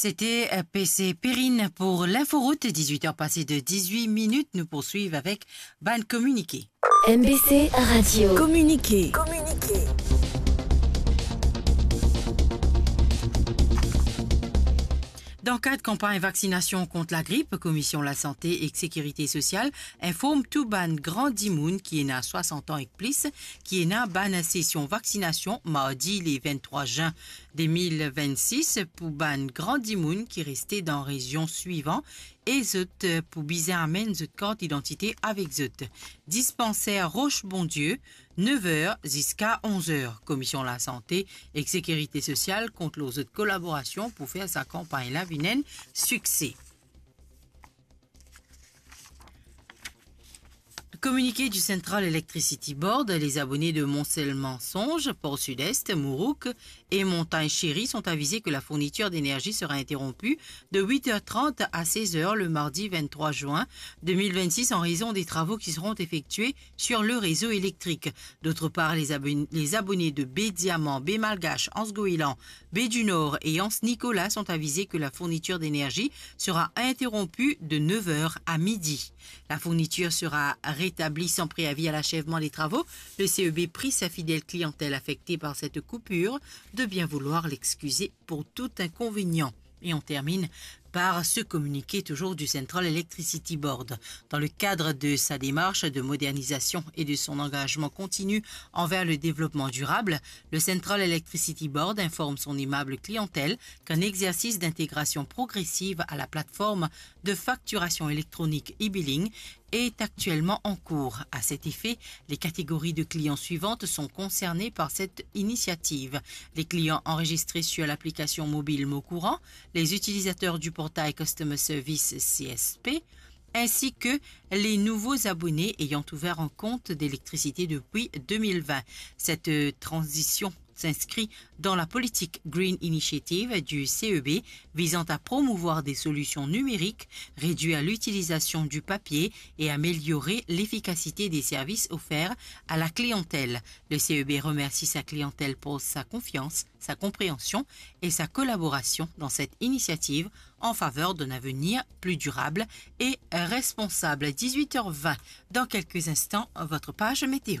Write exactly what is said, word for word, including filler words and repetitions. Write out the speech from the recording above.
C'était, euh, P C Perrine pour l'inforoute, dix-huit heures passées de dix-huit minutes. Nous poursuivons avec bann kominike. M B C Radio. Kominike. Dan kad kanpagn vaksinasion kont lagrip, Komision Lasante ek Sekirite Sosial inform tou bann gran dimoun ki ena swasant an ek plis ki ena bann sesion vaksinasion mardi le vinn-trwa zin de mil vinn-sis pou bann gran dimoun ki reste dan rezion swivan e zot, eh, pou bizin amenn zot kart idantite avek zot. Dispanser Roche Bondieu, nef er ziska onz er. Komision Lasante ek Sekirite Sosial kont lor zot kolaborasion pou fer sa kanpagn la vinn enn sikse. Communiqué du Central Electricity Board, les abonnés de Mont-Selmansonge, Port-Sud-Est, Mourouk et Montagne Chérie sont avisés que la fourniture d'énergie sera interrompue de huit heures trente à seize heures le mardi vingt-trois juin deux mille vingt-six en raison des travaux qui seront effectués sur le réseau électrique. D'autre part, les abon-, les abonnés de Baie Diamant, Baie Malgache, Anse Goéland, Baie du Nord et Anse Nicolas sont avisés que la fourniture d'énergie sera interrompue de neuf heures à midi. La fourniture sera rétablie sans préavis à l'achèvement des travaux. Le C E B prie sa fidèle clientèle affectée par cette coupure de bien vouloir l'excuser pour tout inconvénient. Et on termine par ce communiqué toujours du Central Electricity Board. Dans le cadre de sa démarche de modernisation et de son engagement continu envers le développement durable, le Central Electricity Board informe son aimable clientèle qu'un exercice d'intégration progressive à la plateforme de facturation électronique e-billing est actuellement en cours. À cet effet, les catégories de clients suivantes sont concernées par cette initiative : les clients enregistrés sur l'application mobile Mon Courant, les utilisateurs du portail Customer Service C S P, ainsi que les nouveaux abonnés ayant ouvert un compte d'électricité depuis deux mille vingt. Cette, euh, transition s'inscrit dans la politique Green Initiative du C E B visant à promouvoir des solutions numériques, réduire l'utilisation du papier et améliorer l'efficacité des services offerts à la clientèle. Le C E B remercie sa clientèle pour sa confiance, sa compréhension et sa collaboration dans cette initiative en faveur d'un avenir plus durable et responsable. Dix-huit heures vingt, dans quelques instants, votre page météo.